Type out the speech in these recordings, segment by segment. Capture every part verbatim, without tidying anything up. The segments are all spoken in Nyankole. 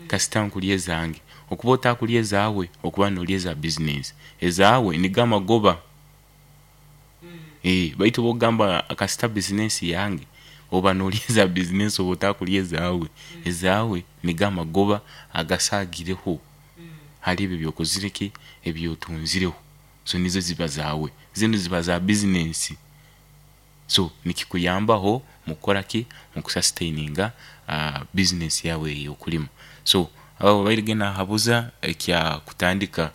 Kasita nkurya ezange. Okuba otakurya ezaawe, okuba norya eza bizinesi. Ezaawe nigo amagoba. Eh, baitu bwokugamba kasita bizinesi yange, oba norya eza bizinesi, oba otakurya ezaawe. Ezaawe nigo amagoba agasaagireho hari ebyo ebyokozire ki, ebyotunzireho. So nizo ziba zaawe, zinu ziba za bizinesi. So nikikuyambaho mukukoraki, mukusustaininga bizinesi yaawe ey'okulima. So obairege nahabuza ekya kutandika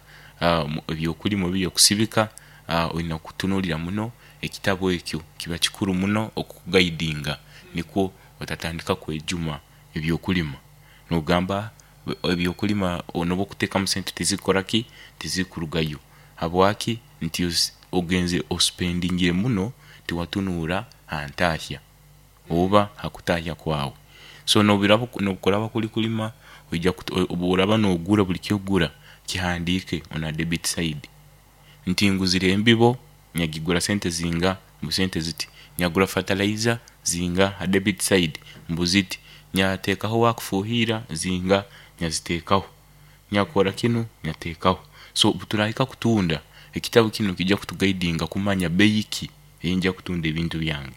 ebyokulima oba ebyokusibika, oyina kutunulira muno ekitabu ekyo, kiba kikuru muno okukugaidinga nikwo otatandika kwejuma ebyokulima nogamba ebyokulima nobwokutekamu esente tizikukolaki, tizikurugayo habwaki nti ogenzere osipendingire muno tiwatunura hantahya oba hakutahya kwawe. So nobu kuraba kuri kulima, oija obworaba nogura buri kyokugura kihandike on debit side nti nguzire embibo nagigura sente zinga mbu sente ziti, nagura fertilizer zinga ha debit side mbu ziti, natekaho owakufuhira zinga nazitekaho, nakora kinu natekaho. So obuturahika kutunda, ekitabu kinu nikija kutugaidinga kumanya beyi ki eyinja kutunda ebintu byange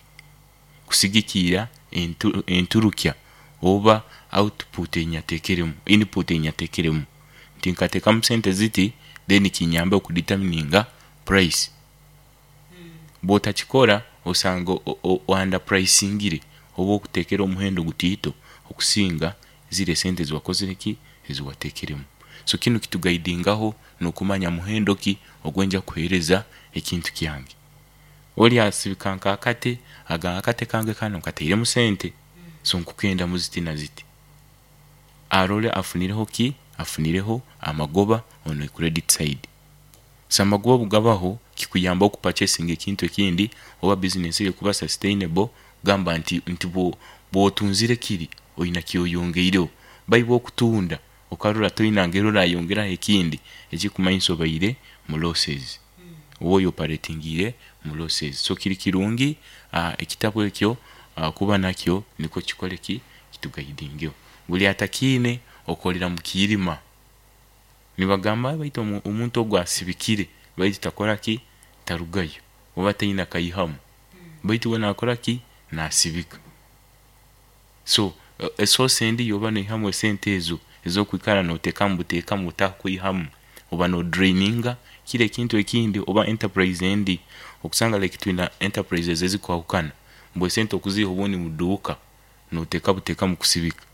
kusigikiira entu enturukya oba output eyinatekeremu, input eyinatekeremu nti nkatekamu sente ziti then kinyambe okuditamininga price. Bwotakikora osanga o- oandapulayisingire oba okutekere omuhendo gutiito okusinga ziri esente eziwakozireki, eziwatekeremu. So kinu kitugaidingaho nokumanya muhendo ki ogwenja kuhereza ekintu kyange. Oli asibika nka akate, agamba akate kange kanu nkateremu sente so nkukendamu ziti naziti, arole afunireho ki, afunireho amagoba on a credit side. So amagoba obugabaho kikuyamba okupacesinga ekintu ekindi oba bizinesi eyo kuba sustainable kugamba nti nti bwotunzire kiri oyina kyoyongeireho baitu bwokutunda okarora toyina ngeri orayongeraho ekindi ekikumanyisa obaire mu losses oba oyoparatingire mu losses. So kiri kirungi ekitabu ekyo kuba nakyo nikwo kikoleki, kitugaidingeho. Buli atakiine okorera mukiirima, nibagamba baitu omuntu ogu asibikire baitu takoraki, tarugayo oba tayina kayihamu baitu we nakoraki, nasibika. So esource endi eyoba noihamu esente ezo ezokwikara notekamu butekamu otakwihamu, oba nodraininga kiri ekintu ekindi oba enterprise endi, okusanga like twina enterprises ezikwahukana mbu esente okuziha obundi muduuka noteka buteka mukusibika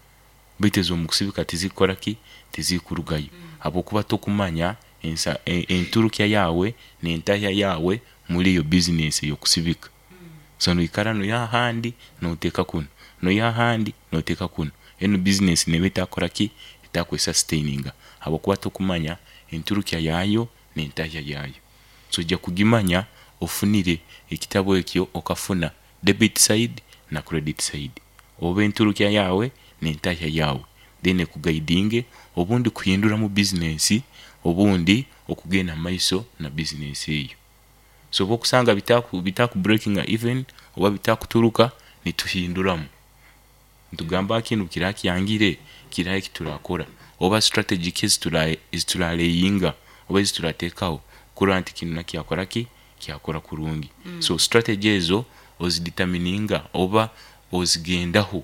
baitu ezomukusibika tizikukolaki, tizikurugayo habwokuba tokumanya ensa enturukya yaawe nentahya yaawe omuri eyo bizinesi eyokusibika. So noikara noiha ahandi noteka kunu, noiha ahandi noteka kunu, enu bizinesi neba etakukolaki, etakwesasitaininga habwokuba tokumanya enturukya yaayo nentahya yaayo. So oija kugimanya ofunire ekitabu ekyo okafuna debit side na credit side oba enturukya yaawe nentahya yaawe then ekugaidinge obundi kuhinduramu bizinesi obundi okugenda omumaiso na bizinesi eyo. So obwokusanga bitaku bitakuburekinga even oba bitakuturuka, nituhinduramu nitugamba kinu obukiraba kyangire kiraha ekiturakora oba strategy ki ezituraleyinga oba ezituratekaho kurora nti kinu nakyo kyakoraki, kyakora kurungi. So strategy ezo oziditamininga oba ozigendaho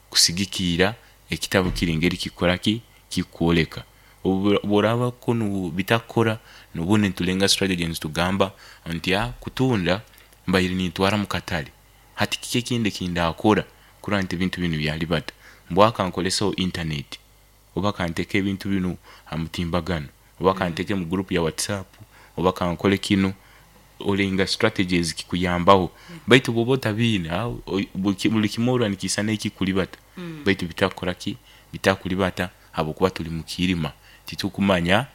kusigikiira ekitabu kiri engeri kikukolaki, kikworeka. Obworaba kunu bitakukora, obundi nitulenga strategy nitugamba nti kutunda mbaire nintwara mukatare, hati kiki ekindi ekindakora kurora nti ebintu binu byaribata, mbwaho kankoreseho intaneti oba kanteke ebintu binu hamutimbagano oba kanteke omu gurupu ya whatsapp oba kankole kinu, olenga strategies kikuyambaho baitu bwoba otabiine, buri kimwe orora nikisana ekikuribata baitu bitakukoraki, bitakuribata habwokuba turi mukiirima titukumanya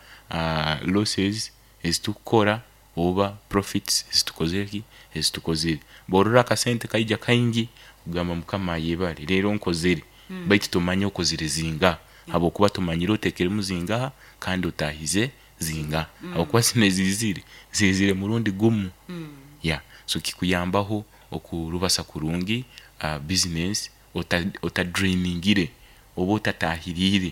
losses ezitukukora oba profits ezitukozireki, ezitukozire. Bworora akasente kaija kaingi, ogamba mukama ayebare leero nkozire baitu tomanya okozire zingaha habwokuba tomanyire otekeremu zingaha kandi otahize zingaha habwokuba zinu ezizire, zizire murundi gumu, yeah so kikuyambaho okurubasa kurungi bizinesi otadrainingire oba otatahirire.